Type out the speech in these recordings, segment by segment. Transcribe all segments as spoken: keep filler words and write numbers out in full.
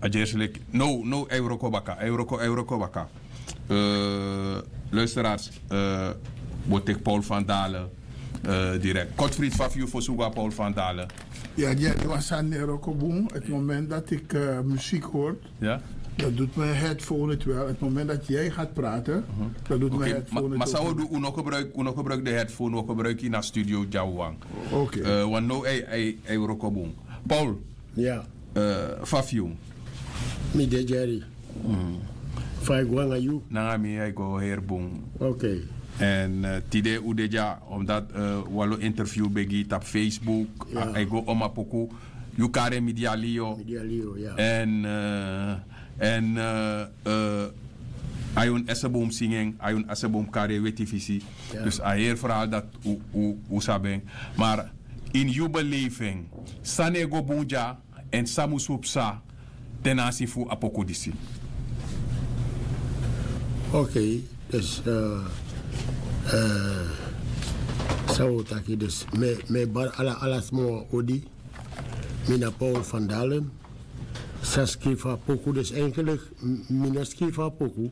A gersi leki. No, no, a e wroko baka, a e wroko, a e wroko baka. Eh, luisteraars, eh, bo teki Paul van Dalen, eh, direct. Kotfried, fa fu yu fosi un go na Paul van Dalen? Ja, ja, die was aan Nero Kobun. Het moment dat ik eh, muziek hoor, Ja? Dat doet mijn headphone het wel. Het moment dat jij gaat praten, dat doet mijn Oké, ma, headphone het ma ook. San wi o du, un no gebruik, un no gebruik den headphone, wi o gebruik ini a studio dyawan. Oké. Eh, want now a e, a e, a e wroko bun. Paul, Ya. eh, fa fu yu? Mi de Jerry. Fa e go nanga yu? Nanga mi a e go heri bun. Oké. Èn eh, tide un de dya, omdat eh, wan lo interview ben gi tapu Facebook, Ya. a, a e go Oma Poku, yu kari en Midialio. Midialio, ya. Èn eh, èn eh, eh, Ayun Esebom singi en, Ayun Esebom kari en Weti Fisi. Ya. Dus a heri verhaal dati un, un, un sabi en. Maar in yu beleving, san e go bun dya, èn san musu psa ten aanzien fu a poku disi? Oké, dus eh, eh, san wi o taki, dus mi, mi e bari ala, ala sma wan odi. Mi na Paul van Dalen. San skrifi a poku, dus eigenlijk, m, mi no skrifi a poku.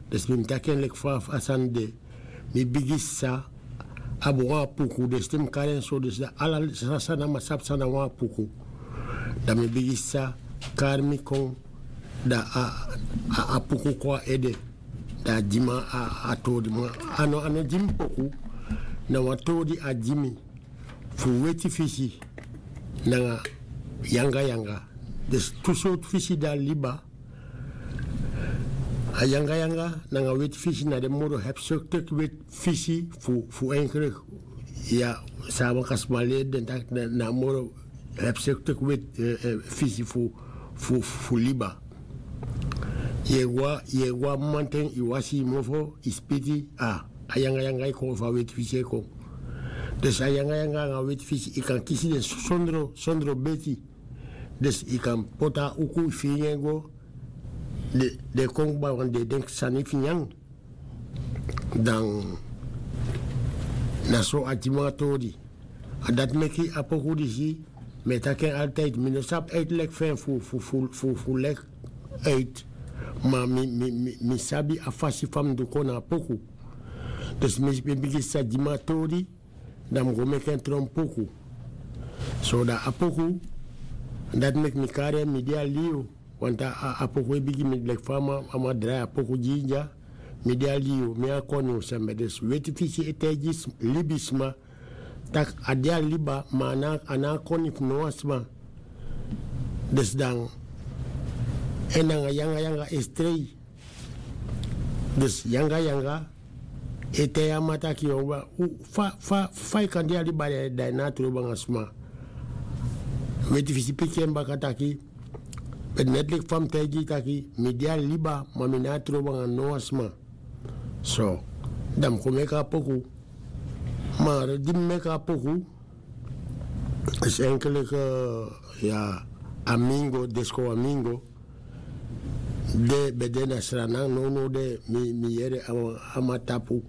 Dus mi mus taki en leki fa a sani de. Mi bigin sa abi wan apuku, dus te mi kari en so, dus dan ala sani, sani na mi sabi san na wan apuku. Dan mi bigin sa kari mi kon, dan a, a, a apuku kon a ede. Dan a gi mi a, a toli, ma a no, a no gi mi poku. Na wan toli a gi mi fu Weti Fisi nanga Yanga Yanga. Dus tu sortu fisi de a liba. A Yanga Yanga nanga Weti Fisi na den moro hebzuchtige weti fisi fu, fu eigenlijk, ya, san a sma leri den taki na, na moro hebzuchtige weti, eh, eh, fisi fu, fu, fu liba. Yu e go, yu e go a mamanten, yu wasi yu mofo, yu spiti, a, a Yanga Yanga e kon, fu a Weti Fisi e kon. Dus a Yanga Yanga nanga Weti Fisi, yu kan kisi den sondro, sondro beti. Dus yu kan poti a uku, yu firi en go, den, den kon kba, want den e denki sani fu nyan. Dan na so a gi mi a toli. A dati meki a poku disi, mi e taki en altijd, mi no sabi uitleg fu en fu, fu, fu, fu, fu leg uit. Ma mi, mi, mi, mi sabi a fasi fa mi du kon na a poku. Dus mi, mi bigin sa gi mi a toli, dan mi go meki en tron poku. So dan a poku, dati meki mi kari en Midialio. Want a, a, a poku e bigin mi leki fa a man, a man drai a poku gi yu dya. Midialio, mi a koni fu sembe. Dus Weti Fisi e taigi s, libisma taki a de a liba, ma a na, a na a koni fu no wan sma. Dus dan en nanga Yanga Yanga e strei. Dus Yanga Yanga e taigi a man taki, yu, fa, fa, fa yu kan de a liba, dan yu no trobi nanga sma. Weti Fisi piki en baka taki, beti net leki fa mi taigi yu taki mi de a liba, ma mi no trobi nanga no wan sma. So dan mi kon meki a poku. Ma di mi meki a poku, is eigenlijk, eh, ya, a mingo, deskowti a mingo. De, ben de na Sranan, nownow de mi, mi yere a, a man tapu.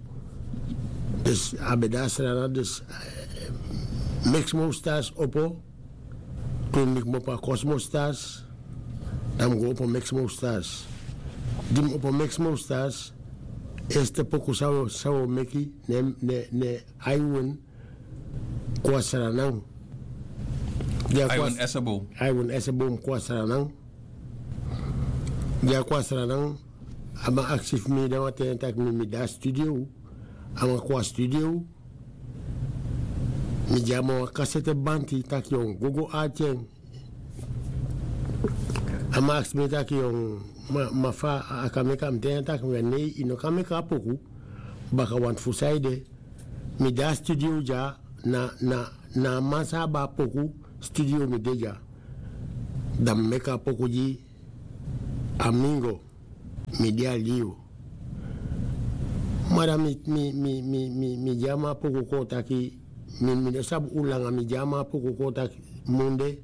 Dus a ben de na Sranan, dus eh, Mixmo Stars opo. Toen mi komopo a Cosmo Stars, dan mi go opo Mixmo Stars. Di mi opo Mixmo Stars, eerste poku san wi, san wi meki, ne, ne, ne, Aiwin kon na Sranan. Aiwin Esebom. Aiwin Esebom kon na Sranan. Di a kon na Sranan, a man aksi fu mi, dan wan ten taki mi, mi de na studio. A man kon na studio. Mi gi a man wan kasete banti taki yu o go go arki en. A man aksi mi taki yu o, ma, ma fa a kan meki a, mi taigi en taki mi, nei, yu no kan meki a poku. Baka wantu fu san ede. Mi de na studio dya, na, na, na a man san abi a poku, studio mi de dya. Dan mi meki a poku gi a mingo, mi de na libi. Ma dan mi, mi, mi, mi, mi, mi gi a man a poku kon taki, mi, mi no sabi un langa, mi gi a man a poku kon taki, munde,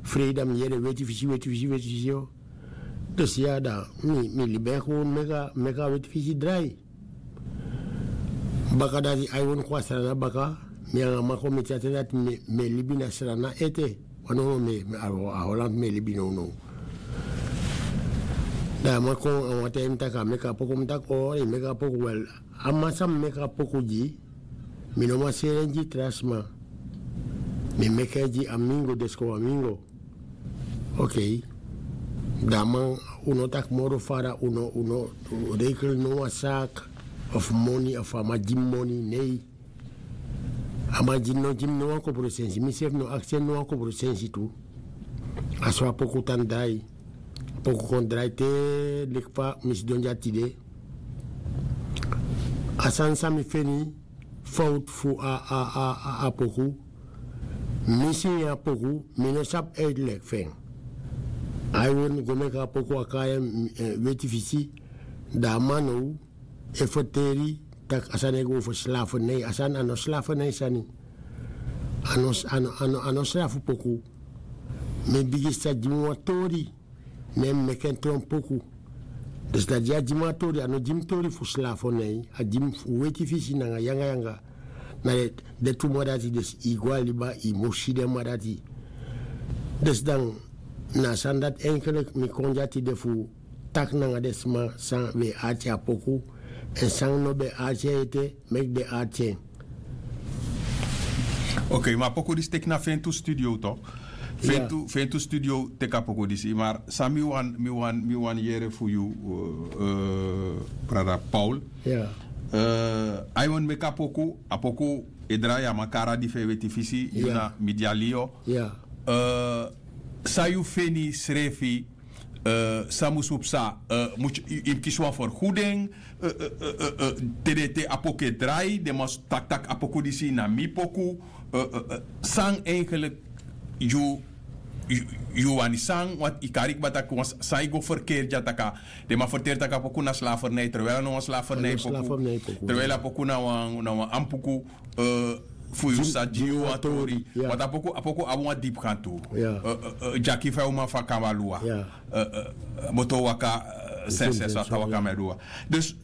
freida mi yere Weti Fisi, Weti Fisi, Weti Fisi, o. Dus ya dan, mi, mi libi en kon meki a, meki a Weti Fisi drai. Baka dati Aiwin kon na Sranan baka, mi nanga a man kon miti a ten dati mi, mi e libi na Sranan ete. Wan nownow mi, mi a, a Holland mi e libi nownow. Dan a man kon a wan ten mi taki a meki a poku mi taki o yu meki a poku wel. A man san mi meki a poku gi mi no man seri en gi tra sma. Mi meki en gi a mingo desko a mingo. Okei. Dan a man un no taki moro fara un no un no rekel no wan saki of moni of a man gi mi moni nei. A man gi mi no gi mi no wan kopro sensi mi sefi no aksi en no wan kopro sensi tu. A so a poku tan drai. Poku kon drai te leki fa mi sidon dya tide. A sani san mi feni fowtu fu a a a a poku. Mi si ini a poku mi no sabi uitleki fu en. Ai weri mi go meki a poku a kari en weti fisi. Dan a man now e ferteri tak' a sani e go fu slavernei a sani a no slavernei sani. A no srafu poku. Mi bigin sa gi mi wan tori. Ne mi meki en tron poku. Dus dati di a gi mi a tori a no gi mi tori fu slavernei a gi mi fu weti fisi nanga yangayanga. Na den tu man dati dus yu go a liba yu mus si den man dati. Dus dan na a sani dati enkeliki mi kon gi a tide fu taki nanga den sma san ben e arki a poku. Èn san no ben e arki en ete meki den arki en. Ok ma a poku disi teki na fentu studio tok? Fentu studio teki a poku disi mar san mi wani mi wani mi wani yere fu yu brada paul. Ai wani meki a poku a poku e drai a man kara di fu e weti fisi yu na mi dyalio. San yu feni srefi? San mus fu psa? Yu mus kisi wan ferguding? Te den te a poku e drai den mus taki tak' a poku disi na mi poku. San eigenlik yu yu wani san want yu kari kba tak' wan san yu go ferkeri dya tak' a den man ferteri tak' a poku na slavernij terwijl a no wan slavernij poku. Terwijl a poku na wan ampuku fu yu sa gi yu wan tori. Want a poku a poku abi wan dipi kan tu. Dyaki fa yu man fu a kamba luwa. Boto waka senses a ta waka mi a du wan dus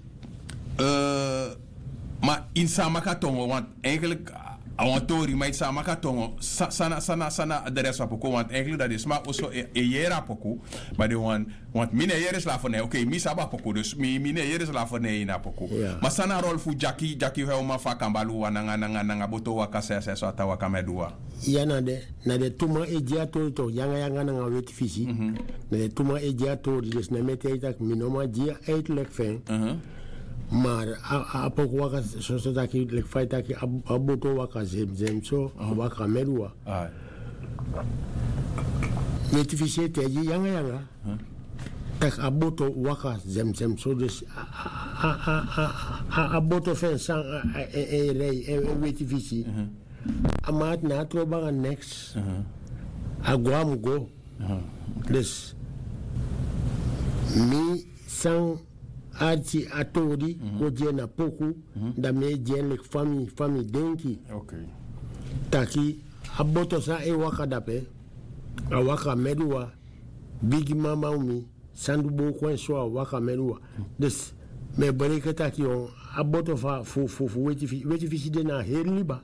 ma ini san a maki a tongo want eigenlik a wan tori ma ini san a maki a tongo sana sana sana de rest fu a poku want eigenlik dati den sma oso e yere a poku. Ma den wan want mi no e yere slavernij ok mi sabi a poku dus mi no e yere slavernij ini a poku. Ma san na a rol fu dyaki dyaki fu a uman fu a kamba luwa nanga nanga nanga boto waka senses a ta waka mi a du wan. Ya na de na den tu man e gi a tori tok yanga yanga nanga weti fisi. Na den tu man e gi a tori dus na mi e taigi tak' mi no man gi a uitlek fu en. Mar a poku waka soso taki leki fa yu taki a boto waka zemzem so a waka meduwa. Weti fisi e taigi yanga yanga tak' a boto waka zemzem so dus a boto fu en san e rei en weti fisi. A man ati na a trobo nanga neks. A go a mu go. Dus mi san arki a tori go gi en na poku. Dan mi e gi en leki fa mi fa mi denki taki a boto san e waka dape a waka meduwa. Bigi mama umi san du booko en so a waka meduwa. Dus mi e breiki e taki a boto fu weti fisi de na a heri liba.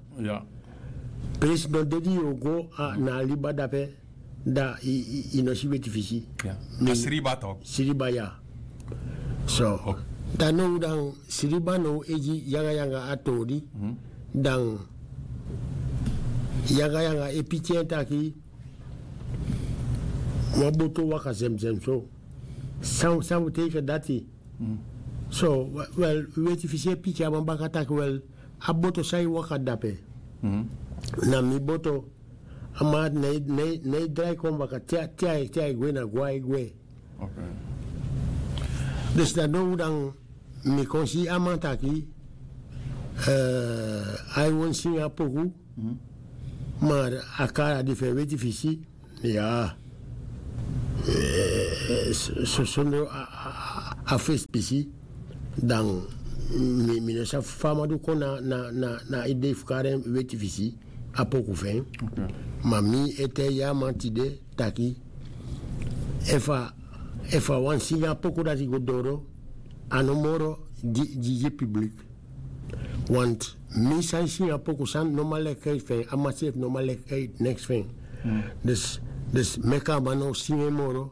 Presi no de di yu o go na a liba dape dan yu no si weti fisi. Sriba ya. So dan now dan sriba now e gi yanga yanga a tori dan yanga yanga e piki en taki wan boto waka zemzem so. San wi teike dati. So wel weti fisi e piki a man baka taki wel a boto san e waka dape na mi boto. A man ati na e drai kon baka te a e gwe na gwe a e gwe. Dus dan now dan mi kon si a man taki ai wani singi a poku. Mar a kari a di fu en weti fisi ya. Sondro a fesi pisi dan mi no sabi fa a man du kon na a idei fu kari en weti fisi. A poku fu en ma mi e taigi a man tide taki efu a wani singi a poku dati go doro a no moro gi gi piblik. Want mi san e singi a poku san no man leki uit fu en a man seefi no man leki uit neks fu en. Dus meki a man no singi en moro.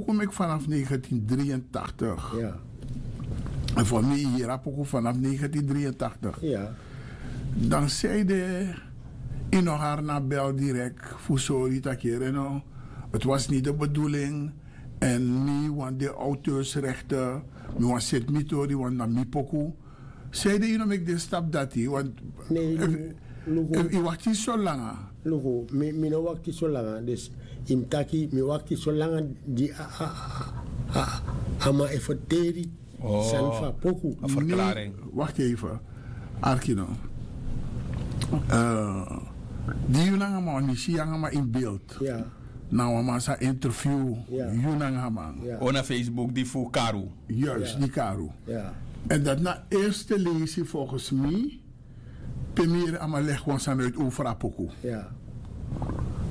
poku meki vanaf negentien drieëntachtig. En voor mi hiri a poku vanaf negentien drieëntachtig. Dan zeide ino harna bel direk fu sori takere no, het was niet de bedoeling. En mi want de auteursrechten, mi want set mi tori want na mi poku. Zeide ino meki de stap dati want Efu yu wakti so langa. Luku, mi no wakti so langa, dus yu mus taki mi wakti so langa di a man e ferteri sani fu a poku. Wakti efu. Arki no. Di yu nanga man wan isi yu nanga man in beeld, na wan man sa interview yu nanga man. O na Facebook di fu karu. Juist di karu. En dati na eerste leisi volgens mi. Pe mi yere a man legi wan sani uit over a poku.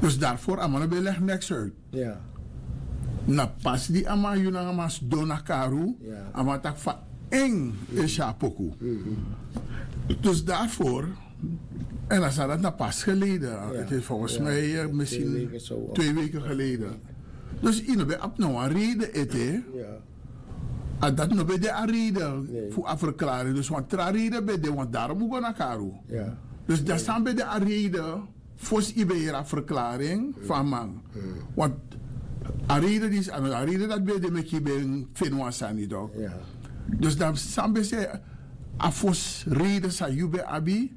Dus daarvoor a man no ben legi neks uit. Na pas di a man yu nanga man sidon na karu, a man taki fa en e si a poku. Dus daarvoor, en a sani dati na pas geleden, het is volgens mij misschien twee weken geleden. Dus yu no ben abi no wan reden ete. A dati no ben de a reden fu a verklaring, dus wan tra reden ben de, want daarom un go na karu. Dus dati sani ben de a reden fosi yu ben yere a verklaring fu a man. Want a reden disi a no a reden dati ben de meki yu ben feni wan sani tok. Dus dan san ben se a fosi reden san yu ben abi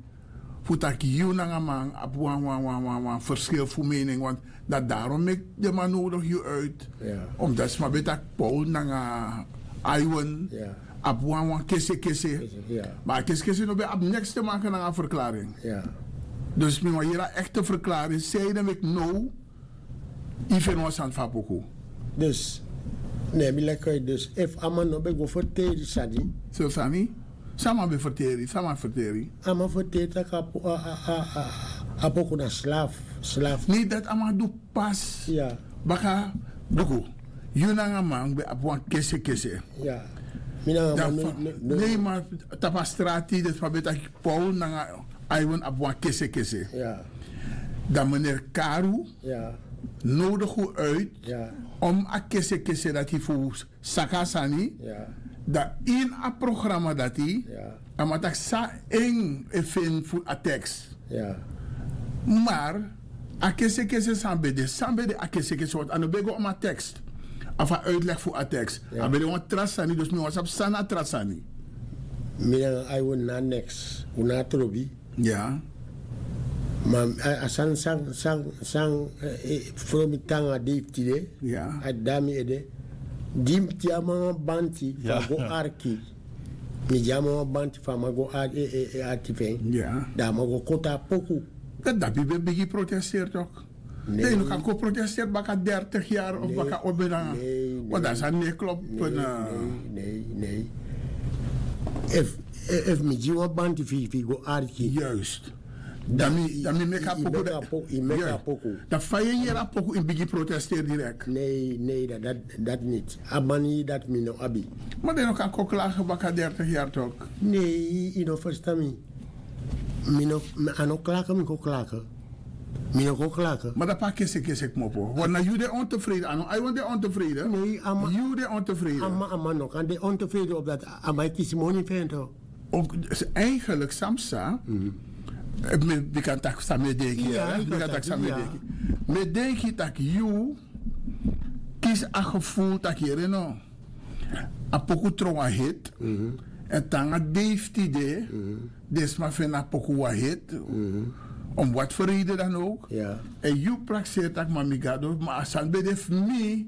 fu taki yu nanga man abi wan wan wan wan wan verschil fu mening, want dati daarom meki den man nodigi yu uit. Omdat sma ben taki Paul nanga Iwan abi wan wan kese kese. Ma a kese kese no ben abi neks te maken nanga a verklaring. Dus mi wan yere a ekte verklaring sei den meki now yu feni wan sani fu a poku. Dus ne mi leki uit, dus efu a man no ben go ferteri sani. So sani? San a man ben ferteri? San a man ferteri? A man ferteri tak' a poku na slafu. Slafu. Ne dati a man du pas. Baka luku, yu nanga man ben abi wan kese kese. Mi nanga man no. Ne ma tapu a strati den sma ben taki Paul nanga Iwan abi wan kese kese. Dan meneer Karu nodigi un uit om a kese kese dati fu saka a sani. Dan ini a programma dati a man taki san en e feni fu a teks. Maar a kese kese san ben de san ben de a kese kese want a no ben go om a teks. Of a uitleg fu a teks a ben de wan tra sani, dus mi wan sabi san na a tra sani. Mi nanga Iwan na neks, un na a trobi. Ya. Ma a sani san san san fromi tanga dei fu tide. A dami ede. Di mi tyari man wan banti fu a go arki. Mi tyari man wan banti fu a man go arki fu en. Dan a man go koti a poku. Dati dapi ben bigin protesteri tok. Dan yu no kan kon protesteri baka dertig yari of baka obe nanga. Want dan sani no e klopu. Nei nei. Efu mi gi wan banti fu yu fu yu go arki. Juist. Dan mi meki a poku. Dan fa yu e yere a poku yu bigin protesteri direkt. Nei nei. Dati niti a man yu dati mi no abi. Ma den no kan kon klage baka dertig yari tok. Nei yu no ferstan mi. Mi no a no klake mi kon klake. Mi no kon klake. Ma dapu a kese kese kmopo wan na yu de ontefreden a no a yu wan de ontefreden. Nei a man yu de ontefreden. A man no kan de ontefreden op dati a man e kisi moni fu en to. Eigenlik samsa. Mi kan taki san mi e denki. Mi kan taki san mi e denki. Mi e denki taki yu kisi a geful taki yere no. A poku tron wan hit. Èn te nanga dei fu tide den sma feni a poku wan hit. Om wati feride dan owk. Èn yu prakseri tak' ma mi gado ma a sani ben de fu mi.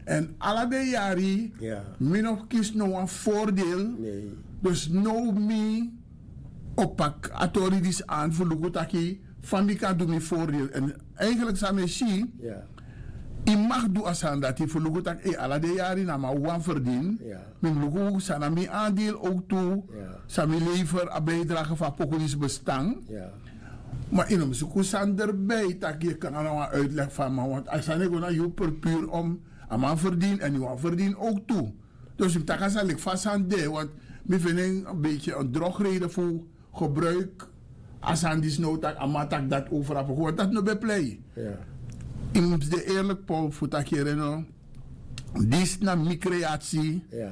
Èn ala den yari mi no kisi no wan fordel. Dus now mi o paki a tori disi an fu luku taki fa mi kan du mi fordel èn eigenlik san mi e si. Yu mag du a sani dati fu luku tak' ala den yari na man wan ferdin. Mi mus luku san na mi andel owk tu. San mi lever a bijdrage fu a poku disi bestan. Ma yu no mus suku sani derbei tak' yu e kon nanga wan uitleg fu a man want a sani e go na yu perpur om a man ferdin èn yu wan ferdin owk tu. Dus yu mus taki a sani leki fa a sani de want mi feni en beti en drogreden fu gebruik a sani disi now tak' a man taki dati over a poku want dati no ben plei. Yu mus de eerlik pol fu taki yere no. Disi na mi kreati.